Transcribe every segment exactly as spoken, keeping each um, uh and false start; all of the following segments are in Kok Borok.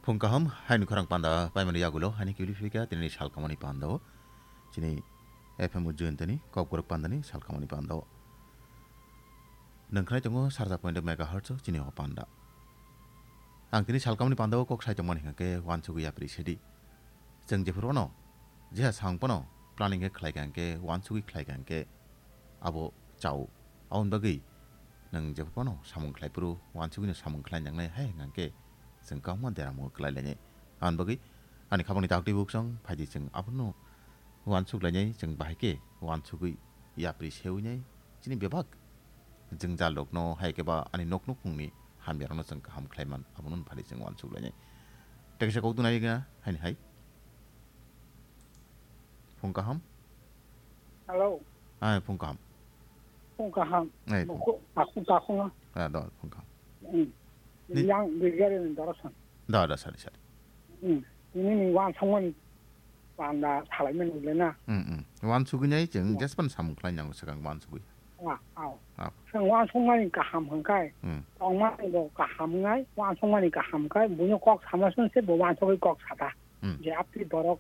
Phung kaham, haini khorang panda paimani yagulo, haini kibili phika, tini salkamani panda o. Chini F M Ujjayantani, kokborok pandani, salkamani panda o. Nangkhnai tongo sarja point megahertz o, chini o panda. Ang tini salkamani panda o kok sai tongmani hingke wansugwi yapri sedi. Chwng jephuru ono, jeha sang pono, planning khe khlai ka hingke, wansugwi khlai ka hingke, abo chao. Aboni bagwi nwng jephuru pono samung khlai phuru, wansugwino samung khlai nangnai hai hingke, chwng kwbangma deramungo kwlai lainai. Aboni bagwi ani khapangni taktwi buksong phaidi chwng abono wansuk lainai, chwng bahai khe wansugwi yapri sewi nai, chini bebak jwngjal rokno hai khe ba ani nok nukhungni hamya rokno chwng kaham khlai man, abono phari chwng wansuk lainai. Tei kaisa kok tunai gana haini hai. Phung kaham? Hello. Ai, phung kaham. Phung kaham. Ai, phung. Takhung, takhung, takhung. Ah, do, phung kaham. Hmm. Ni- Yang Brigadier ni Dorosan. Da, da, sari, sari. Hmm. Ini ni wansukmani panda salaimani le na. Hmm, hmm. Wansugwi nai chwng, hmm, jespan samung khlai nango swkang wansugwi. Ah, ah. Ah. Chwng wansukmani kaham hwnkhai, hmm, tongmani bo kaham wngnai, wansukmani kaham khai, buino kok sama sung se bo wansugwi kok sata. Hmm. Je apni borok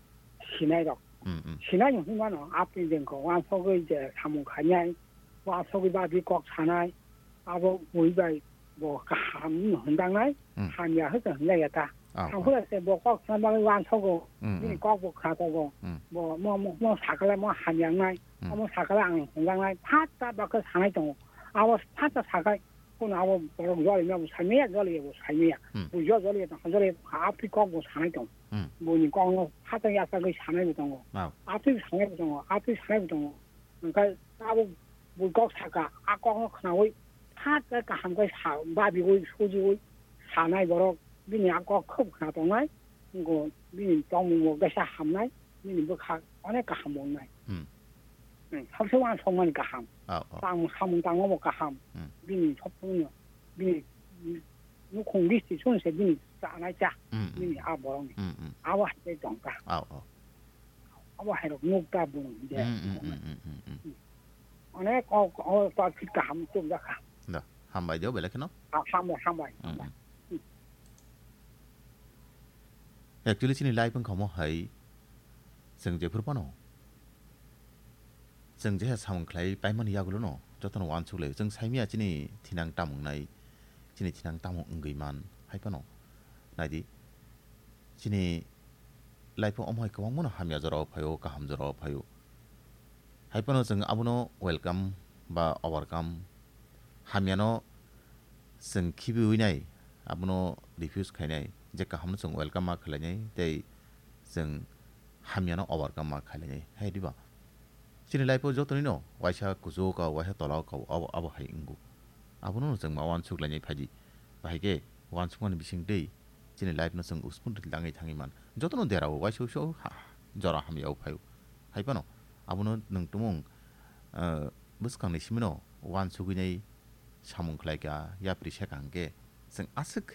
sinai rok. Hmm, hmm. Sinai hwnwi mano, apni jengkho wansugwi je samung khainai, wansugwi bagwi kok sanai, abo bui bai bo kaham hwnjaknai, hmm, hamya hwnkhe hwnjakya ta. Ah, ah. Tangphuru se bo kok sana bagwi wansugo, hmm, bini, hmm, kok bo khna tongo. Hmm. Bo mo, mo, mo sakale mo hamya wngnai, hmm, omo sakale ang hwnjaknai, phat ta bakhe sanai tongo. Abo phat ta sakai, kono abo borok jolima bo saimaya, joliya bo saimaya. Hmm. Bo jo joliya tong, joliya tong, apni kok bo sanai tongo. Hmm. Boni kokno phat ta yachagwi sanai bo tongo. Ah. Apni sanai bo tongo, apni sanai bo tongo. Hwnkhai abo bui kok saka, a kokno khnaui phat khe kaham khe sa, babiui, sujiui sanai borok, bini a kok khub khna tongnai, wngkho bini tongmung bo kisa hamnai, bini bwkha onek kaham wngnai. Hmm. Hmm, sabse wansukmani kaham. Oh, oh. Tang samung tangma bo kaham. Hmm. Bini sopno, bini nukhung listi chunse bini chanai cha, hmm, hmm, bini a borokni. Hmm, hmm. Abo hai tongkha. Oh, oh. Abo hai rok nukta bung je. Hmm, hmm, hmm, hmm, hmm, hmm. Onek o, o, o, fit kaham chukjakha. Da, hambai de, belai kheno. Ha-, hambai, hambai, hmm, hambai. Hmm. Actually, chini life wngkha omo hai, chwng jephuru phano, chwng jeha samung khlai paimani yagulono, jotono wansuk lai. Chwng saimya chini thinang tamo wngnai, chini thinang tamo wngwi man, hai phano. Naidi, chini life o omo hai kwbangmano hamya jorao phaio, kaham jorao phaio. Hai phano chwng abono welcome ba overcome, hamyano chwng khibiui nai, abono refuse khainai, je kahamno chwng welcome ma khlainai, tei chwng hamyano overcome ma khlainai. Hai diba? Chini life o jotonino waisa kuchuk o, waisa tola o, abo, abo hai wngo. Abono chwng ma wansuk lainai phaidi. Bahai khe wansukmani bising twi chini life no chwng uspun ri langwi thangwi man. Jotono derao waisa waisa ha, jora hamya o phaio. Hai phano abono nwng tumung, eh, bwskangni simino wansugwi nai samung khlai kha, yapri se kaham khe chwng aswk